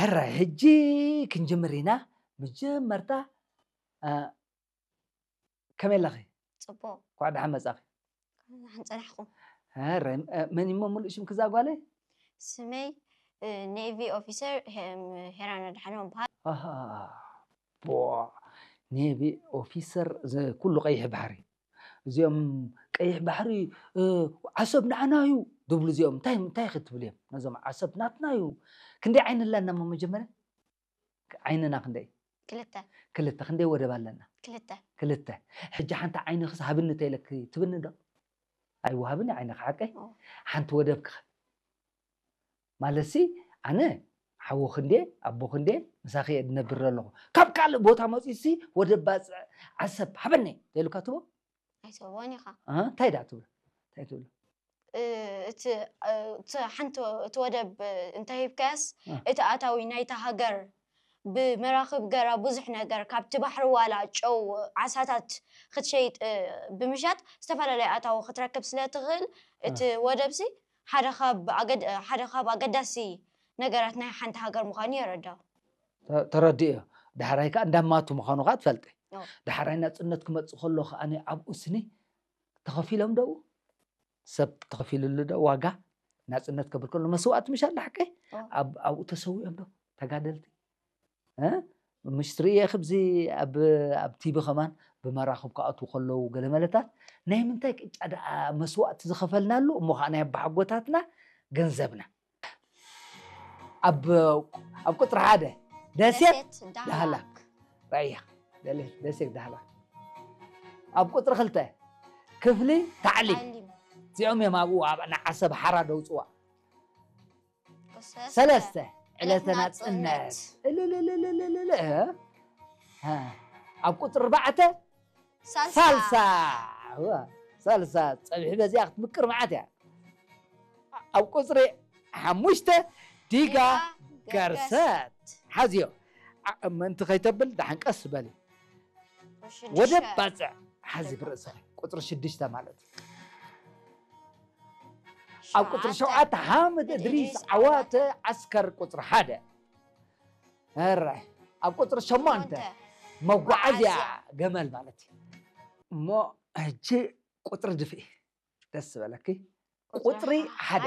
ሕራይ ሕጂ ክንጅምር ኢና። መጀመርታ እ፣ ከመይ ኣለኺ? ጽቡቕ። እንኳዕ ደሓን መጻኺ። ደሓን ጸናሕኩም። ሕራይ እ፣ መን እሞ ምሉእ ሽምኪ እዛ ጓለይ? ስመይ እ፣ ኔቪ ኦፊሰር ሄ- ሄራን ኣድሓኖም በሃል። ኣሃ፣ ቦ፣ ኔቪ ኦፊሰር ኩሉ ቀይሕ ባሕሪ። እዚኦም ቀይሕ ባሕሪ እ፣ ዓሰብ ንዓና እዩ ድብሉ። እዚኦም እንታይ እንታይ ክትብል እዮም? ነዞም ዓሰብ ናትና እዩ። ክንደይ ዓይኒ ኣለና እሞ መጀመርያ ዓይንና ክንደይ? ክልተ ክልተ። ክንደይ ወደብ ኣለና? ክልተ ክልተ። ሕጂ ሓንቲ ዓይኒ ክስ ሃብኒ ተይለኪ ትብኒ ዶ? ኣይወሃብን እዩ ዓይንኺ ሓቀይ? ኦ። ሓንቲ ወደብ ክኸ ማለትሲ ኣነ ሓወኺ እንዴ ኣቦኺ እንዴ ምሳኺ እየ ዝነብር ዘለኹ። ካብ ካልእ ቦታ መፂኡሲ ወደብ ባፅዕ ዓሰብ ሃበኒ ተይሉካ ትቦ? ኣይትህቦን ኢኻ። እ፣ እንታይ ደኣ ትብሎ? እንታይ ትብሎ? እ፣ እቲ እ፣ እቲ ሓንቲ እቲ ወደብ እ፣ እንተሂብካያስ እ። እቲ ኣታዊ ናይታ ሃገር ብመራኽብ ገራ ብዙሕ ነገር ካብቲ ባሕሪ ዋላ ጨው ዓሳታት ክትሸይጥ እ፣ ብምሻጥ ዝተፈላለዩ ኣታዊ ክትረክብ ስለ ትኽእል እቲ ወደብሲ ሓደ ካብ ኣገድ- ሓደ ካብ ኣገዳሲ ነገራት ናይ ሓንቲ ሃገር ምዃኑ የረዳ። ተ- ተረዲኦ። ዳሕራይ ከዓ እንዳማቱ ምዃኑ ከዓ ትፈልጢ። ኦ። ዳሕራይ ናፅነት ክመፅእ ከሎ ከዓ ኣብኡ ስኒ ተኸፊሎም ደው ሰብ ተኸፊሉሉ ዶ ዋጋ ናፅነት ከብል ከሎ መስዋእቲ ምሻ ሓቀይ ኦ። ኣብ- ኣብኡ ተሰዊኦም ዶ ተጋደልቲ እ? ምሽ ትርእየ ክብዚ ኣብ ኣብ ቲቪ ከማን ብመራኽብ ክኣትዉ ከለዉ ገለ መለታት ናይ ምንታይ ቅጫ ደኣ መስዋእቲ ዝኸፈልናሉ እሞ ከዓ ናይ ኣባሓጎታትና ገንዘብና ኣብ ኣብ ቁፅሪ ሓደ ደሴት ዳህላክ ራያ ደለ- ደሴት ዳህላክ ኣብ ቁፅሪ ክልተ ክፍሊ ታዕሊም ታዕሊም እዚኦም እዮም ኣብኡ ኣብ ንዓሰብ ሓራ ደውፅዋ ሰለስተ ሰለስተ ዕለተ ዕለተ ናፅነት ናፅነት። እልልልልልልል እ? እ። ኣብ ቁፅሪ ኣርባዕተ ሳልሳ ሳልሳ እወ፣ ሳልሳ ፀብሒ በዚኣ ክትምቅር መዓት እያ ኣብ ቁፅሪ ሓሙሽተ ዲጋ ዲጋ ገርሰት ሓዝዮ ዓ- ምእንቲ ከይተብል ደሓን ቀስ በሊ ሽዱሽተ። ወደብ ባፅዕ ሓዚ ብርእስኺ ቁፅሪ ሽዱሽተ ማለት እዩ ኣብ ቁፅሪ ሸውዓተ ሓምድ እድሪስ እድሪስ ዓዋተ ዓስከር ቁፅሪ ሓደ ሕራይ ኣብ ቁፅሪ ሸሞንተ ሸሞንተ መጓዓዝያ መጓዓዝያ። ገመል ማለት እዩ እሞ ሕጂ ቁፅሪ ድፍኢ ደስ ዝበለኪ ቁፅሪ ሓደ